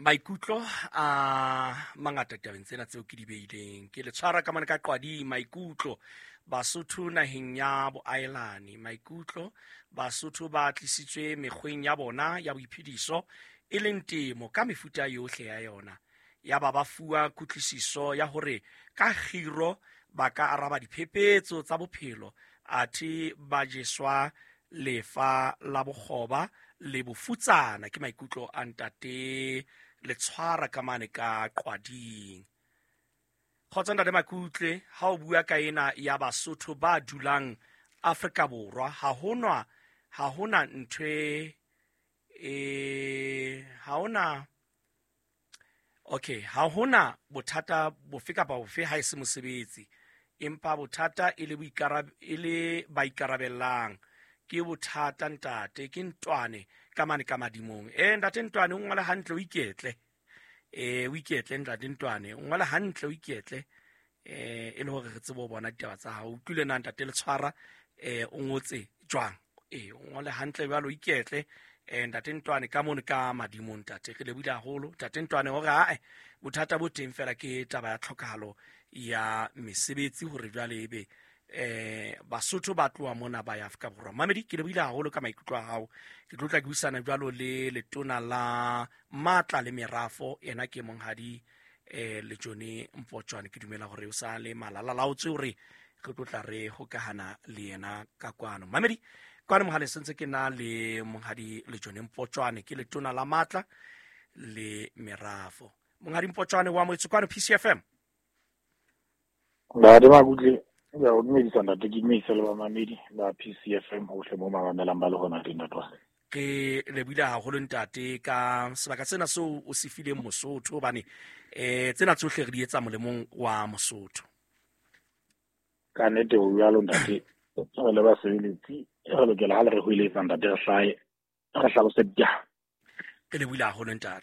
Maikutlo a mangata tabeng tsena tseo ke di beileng. Ke le tshwara ka mane ka qwading. Maikutlo Basotho naheng ya boaelane. Maikutlo Basotho ba tlisitswe mekgweng ya bona ya boiphediso, e leng temo ka mefuta yohle ya yona. Ya ba ba fuwa kutlwisiso ya hore ka kgiro ba ka araba diphephetso tsa bophelo, athe ba jeswa lefa la bokgoba le bofutsana. Ke maikutlo a ntate Letshwara ka mane ka Qwading. Kgotso ntate Makutle, ha o bua ka ena ya Basotho ba dulang Afrika Borwa, ha honwa ha hona ntho e ha hona, okay, ha hona bothata bofe kapa bofe ha e se mosebetsi, empa bothata e le e le ba ikarabellang. Ke bothata ntate, ke Ntwane ka mane ka madimong. Ntate Ntwane, o ngole hantle, o iketle. O iketle ntate Ntwane, o ngole hantle, o iketle. E le hore re tsebe ho bona ditaba tsa hao. O utlwile na ntate Letshwara, o ngotse jwang? O ngole hantle jwalo, o iketle. Ntate Ntwane ka mono ka madimong ntate, re lebohile haholo ntate Ntwane hore ae bothata bo teng fela ke taba ya tlhokahalo ya mesebetsi, hore jwale ebe Basotho ba tloha mona ba ya Afrika Borwa. Mamedi, ke lebohile haholo ka maikutlo a hao. Ke tlo tla ke buisana jwalo le letona la matla le merafo, yena ke monghadi Lejone Mpotjwane. Ke dumela hore o sa le malala laotswe hore re tlo tla re hokahana le yena ka kwano. Mamedi, kwano mohaleng sentse ke na le monghadi Lejone Mpotjwane, ke letona la matla le merafo. Monghadi Mpotjwane wa moetse kwano PCFM. Ntate Makutle, ke a o dumedisa ntate, ke dumedisa le bamamedi ba PCFM hohle mo mamamelang ba le hona teng ntate wa. Ke lebohile haholo ntate ka sebaka sena seo o se fileng Mosotho, hobane tsena tsohle re di etsa molemong wa Mosotho. Ka nnete ho jwalo ntate, re le basebeletsi re lokela ha le re hoeletsa ntate re hlahe re hlalose ditaba. Ke lebohile haholo ntate.